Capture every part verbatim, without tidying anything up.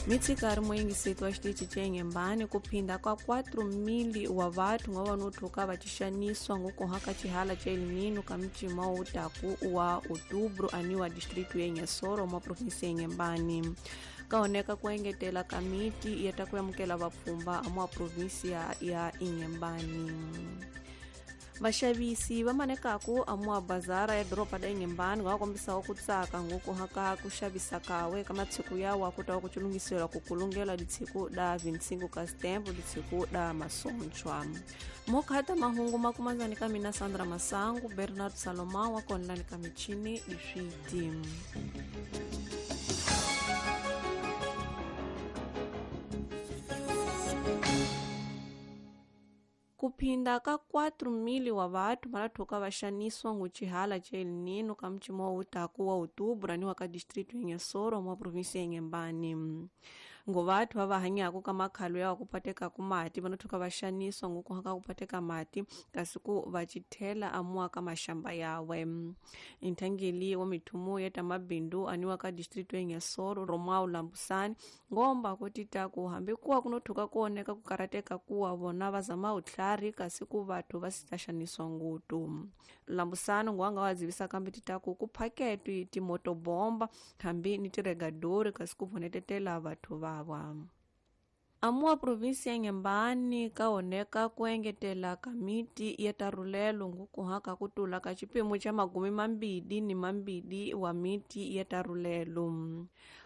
Mitsikari moyingiseti wa xitichi xa Inhembane ku phinda ka quatro mil wa vathu nga vanothuka va xixaniswa ngokuhaka xihala xa El Niño ka micima wo taku wa outubro aniwa distrito ya Inhassoro mwa provinsia ya Inhembane. Kaoneka ku engetela kamiti ya ta ku amukela vapfhumba mwa provinsia ya Inhembane. Vaxavisi va manekaku amwa bazara ya doroba da Inhembane va kombisaho ku tsaka ngokuhaka ku xavisa kawe ka matshiku yawa ku ta ku chilungiselwa ku kulungela ditshiku da vinte e cinco ka setembro ditshiku da masontshwa. Mokhata mahungu makumanzani ka mina Sandra Masangu, Bernard Salomão wa konlani ka michini diswiti. Kuphinda ka quatro mil wa vathu malathuka va xaniswa nguchihala xa El Niño ka mcimo wa utaku wa outubro aniwa ka distrito ya Inhassoro mwa provinsia ya Inhembane. Ngo vathu va va hanyaku ka makhalo ya ku pateka ku mati vanothuka va xaniswa ngokuhaka ku pateka mati kasi ku va chithela amuwa ka maxamba yawe. Inthangeli wa mithumu ya ta mabindu aniwa ka distrito ya Inhassoro Romao Lambusani ngomba ku tita ku hambi kuwa kunothuka kuoneka ku karateka kuwa vona va zama utlhari kasi ku vathu va si ta xaniswa ngutu. Lambusani ngwanga wa dzivisa kambe tita ku ku phaketwi timotobomba hambi ni tiregadori kasi ku vonetetela vathu va. Amua provinsia ya Inhembane kaoneka ku engetela kamiti ya tarulelo ngukuhaka ku tula ka xipimo xa magumi mambili ni mambili wa miti ya tarulelo.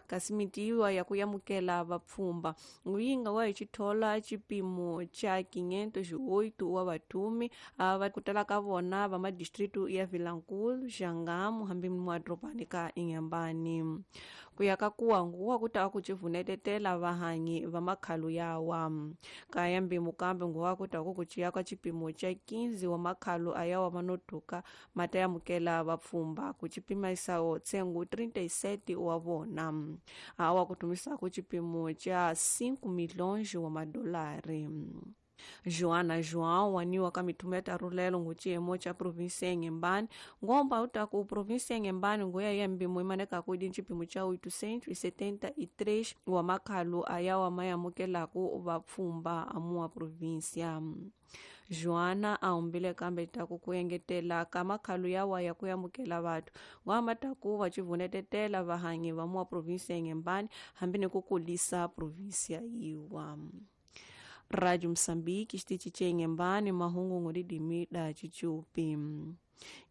Kasi miti yiwa ya ku yamukela vapfhumba nguyinga wa hi xithola xipimo xa quinhentos e oito wa vathumi va ku tala ka vona va madistritu ya Vilankulo, Xangamu hambi mwadorobani ka Inhembane. Ku ya ka kuwa nguwa ku ta ku civunetetela vahanyi va makhalo yawa. Ka ya mbimu kambe nguwa ku ta ku ku ciya ka xipimo xa quinze wa makhalo ayawa manotuka ma ta yamukela vapfhumba ku cipimaisawo tsengo trinta e sete wa vona. Awa kutumisa ku xipimo xa cinco milhões wa madolari. Joana João waniwa ka mithumu ya tarulelo nguciyemo xa provinsia ya Inhembane ngomba utaku provinsia ya Inhembane nguya ya mbimo imanekaku idi xipimo xa oitocentos e setenta e três wa makhalo ayawa mayamukelaku vapfhumba amuwa provinsia. Joana a humbile kambe taku ku engetela ka makhalo yawa ya ku amukela vathu ngwama taku va civunetetela vahanyi va muwa provinsia ya Inhembane hambi ni ku kulisa provinsia yiwa. Rádio Moçambique, xitichi xa Inhembane, mahungu ngolidimi da Chichupi.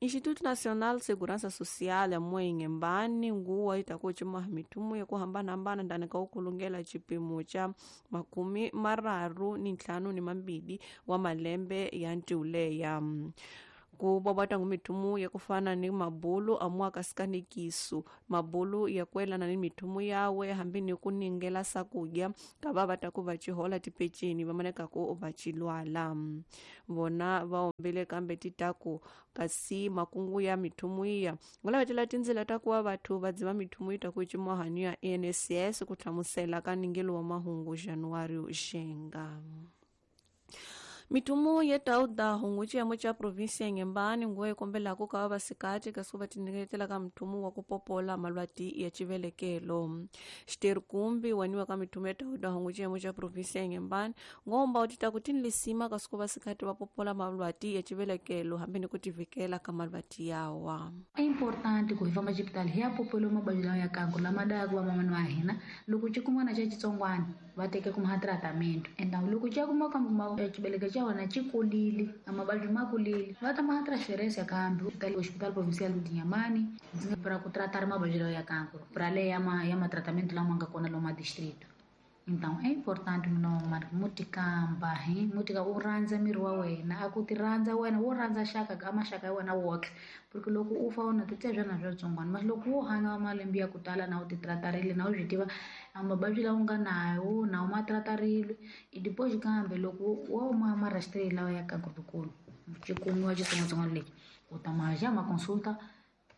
Instituto Nacional de Segurança Social amue Inhembane nguwa itakuchima mitumu ya kuhambana-hambana ndani ka ukulungela xipimo xa makumi mararu ni ntlhanu ni mambili wa malembe ya ntiuleya. Ku bobata ngu mithumu ya kufana ni mabulu amua kasikanikisu mabulu ya kuelana ni mithumu yawe hambi ni kuningela sakudya ka va ta ku va chihola tipeceni va maneka ku va chilwala. Vona va ombile kambe titaku kasi makungu ya mithumu iya ngulavetela tindzila ta kuva vathu va dziva mithumu yi ta ku cimohani ya I N S S ku hlamusela ka ningelo wa mahungu Januário Xenga. Mithumu ya tauda hungu xiyemo xa provinsia ya Inhembane nguwa yi kombelaku ka vasikati kasi va tinyiketela ka muthumu wa ku popola malwati ya xivelekelo. Xiterkumbi waniwa ka mithumu ya tauda hungu xiyemo xa provinsia ya Inhembane ngomba u tita ku tinlisima kasi ku vasikati va popola malwati ya xivelekelo hambi ni ku tivikela ka malwati yawa. É importante ku hi famba xipitali hi ya popola mavabyi lawa ya kanku lama dayaka vamamani wa hina loko xi kumana xa xitsongwana va teke kuma tratamento and loko xa kuma kambe xivelekelo xa wena xi kulile a mavabyi ma kulile va ta ma transferência kambe hospital provincial de Inhambane para ku tratar mavabyi lawa ya kanku para le ya ma ya ma tratamento lama nga kona lomu distrito. Então é importante mina mutikamba hi mutika u rhandza miri wa wena a ku ti rhandza wena wo rhandza xaka ka maxaka ya wena woxe porque loko u fa u na ti tebya na swa tsongwana mas loko wo hanya malembe ya ku tala na u ti tratarile na u swi tiva a mavabyi lawa u nga nawo na u ma tratarile i depois kambe loko wo ma ma rastreile lawa ya kankulu xi kumiwa xitsongwatsongwana lexi u ta ma ja ma consulta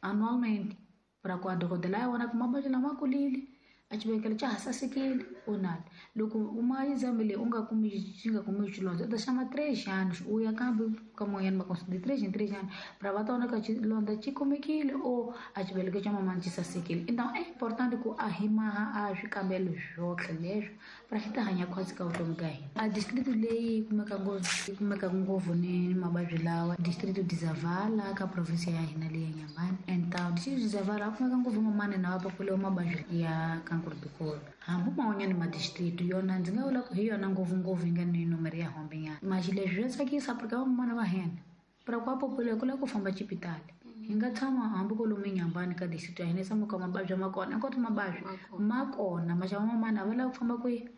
anualmente para ku a dokodela ya vona ku mavabyi lama kulile A xibelekelo xa ha sasekile or not. Loko u ma exame leyi u nga kumi xi nga kumi xilondza u ta xama três anos u ya kambe ka man'wanyana ma de três em três anos pra va ta vona ka xilondza xi kumekile or a xibelekelo xa mamani xi sasekile. Então é importante ku a hi maha a swikambelo swotlhe leswo pra hi ta hanya khwatsi ka vutomi ka hina. A district leyi kumeka ngopfu yi kumeka ngopfu ni mavabyi lawa district de Zavala ka province ya hina leyi ya Inhambane. Então district de Zavala kumeka ngopfu mamani na va populiwa mavabyi ya cancro do colo. Hambi man'wanyana ma district yona ndzi nga vula ku hi yona ngopfungopfu yi nga ni nomoro ya hombe nyana. Maxi leswi swa tsakisa porque vamamana va hina pra ku va populiwa ku lava ku famba xipitali. Hi nga tshama hambi kwalomu eNyambani ka district ya hina hi tshama ka mavabyi ma kona hinkwato mavabyi ma kona maxava mamana a va lavi ku famba kwihi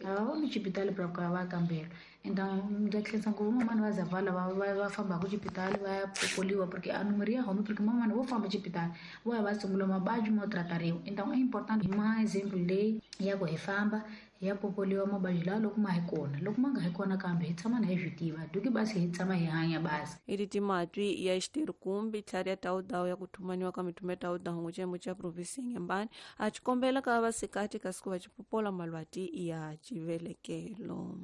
a va voni xipitali pra ku ya va ya kambela. Então ndza khensa ngopfu mamani va Zavala va va va fambaka xipitali va ya popoliwa porque a nomoro ya home porque mamani vo famba xipitali vo ya va tshungula mavabyi mo tratariwa. Então é importante hi ma example leyi ya ku hi famba hi ya popoliwa mavabyi lawa loko ma hi kona loko ma nga hi kona kambe hi tshama na hi swi tiva duki basi hi tshama hi hanya basi. Iri timatwi ya xiterkumbi tlhari ya tawudawu ya ku thumaniwa ka mithumo ya tawudawu ngutshembo xa provinsi ya Inhambane a xi kombela ka vasikati kasi ku va xi popola malwati ya xivelekelo.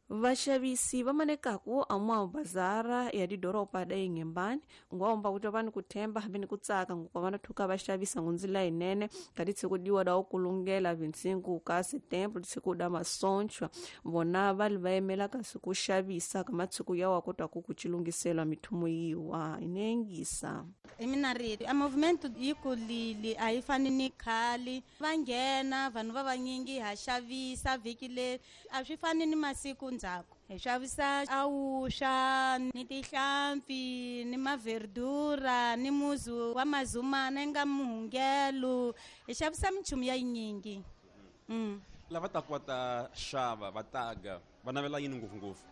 Vaxavisi va manekaku a bazara ya didoropa da Inhambane ngwaomba kuti va ni ku themba hambi ni ku tsaka ngokwa va na thuka va xavisa ngundzila yinene ka titshiku diwa da kulungela vintsingu ka setembro titshiku da masontshwa vona va li va yimela kasi ku xavisa ka matshiku yawa kota ku ku chilungiselwa mithumo yiwa inengisa. Hi mina rito a movement yi kulile a yi fani ni khale va nghena vanhu va vanyingi ha xavisa vhiki leri a swi fani ni masiku ndzhaku hi xavisa awuxa ni tihlampfi ni maverdura ni muzu wa mazumana yi nga muhungelo hi xavisa minchumu ya yinyingi. Mm. Lava taku va ta xava va taga va navela yini ngopfungopfu?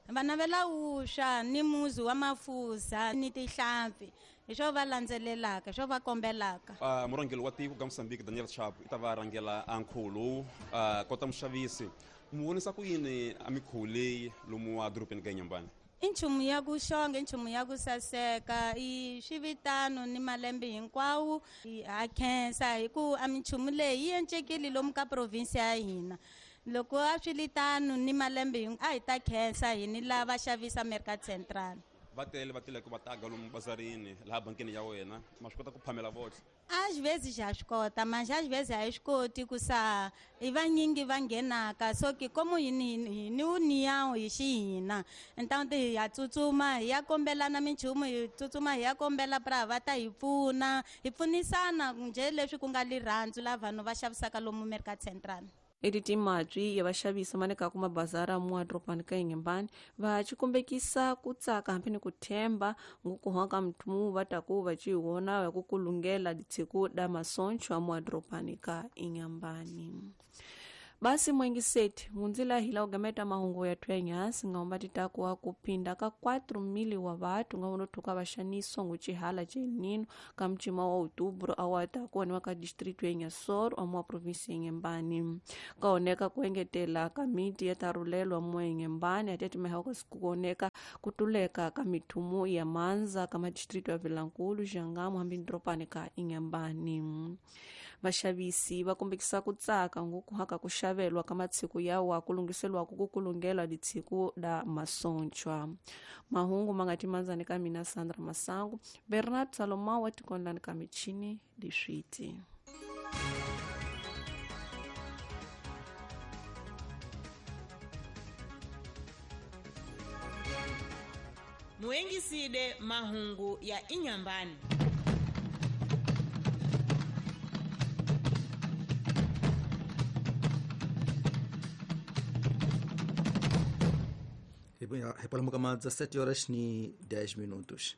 Va navela wusha ni muzu wa mafuza ni tihlampfi hi swo va landzelelaka hi swo va kombelaka. Uh, murhangeri wa tiko ka Mozambique Daniel Chapo i ta va rhangela a nkhuvo lowu uh, kota muxavisi mu vonisa ku yini a mikhuvo leyi lomu wa dorobeni ka Inhambane? I nchumu ya ku xonga i nchumu ya ku saseka i swivitano ni malembe hinkwawo ha khensa hi ku a minchumu leyi yi encekile lomu ka province ya hina. Loko a swi li tano ni malembe a hi ta khensa hi ni lava xavisa Mercado Central. Va tele va tele ku va taga lomu bazarini laha bankini ya wena ma swi kota ku phamela votlhe? Às vezes já swi kota manje às vezes a hi swi koti ku sa i vanyingi va nghenaka so ke como hi ni hi ni união hi xihina então hi ya tsutsuma hi ya kombelana minchumu hi tsutsuma hi ya kombela pra va ta hi pfuna hi pfunisana njhe leswi ku nga lirhandzu la vanhu va xavisaka lomu Mercado Central. Eti timatwi ya vaxavisi manekaku mabazara mu dorobeni ka Inhambane va xikombekisa ku tsaka hambi ni ku themba ngukuhwa ka muthumu va taku va ci wona ya ku kulungela ditshiku da masontshwa mu dorobeni ka Inhambane. Basi mwengiseti ngunzila hila ugameta mahungu ya twenyasi ngaomba titakuwa kupinda ka quatro mili wa watu ngaono tuka vashaniswa nguchihala cha El Nino ka mchima wa outubro awatakuwa ni waka district ya Inhassoro amwa provinsi ya Inhambane. Kaoneka kuengetela kamiti ya tarulelwa mwa Inhambane atete mehauka sikuoneka kutuleka kamithumu ya manza kama district ya Vilankulu Jangamo hambi ndropane ka Inhambane. Vaxavisi va kombekisa ku tsaka ngukuhaka ku xavelwa ka matshiku yawa ku lunghiselwa ku kulungelwa ditshiku da masontshwa. Mahungu ma nga timandzani ka mina Sandra Masangu, Bernard Salomão wa tikondlani ka michini diswiti. Muengiside mahungu ya Inhambane. Repolamo kama dezessete horas e dez minutos.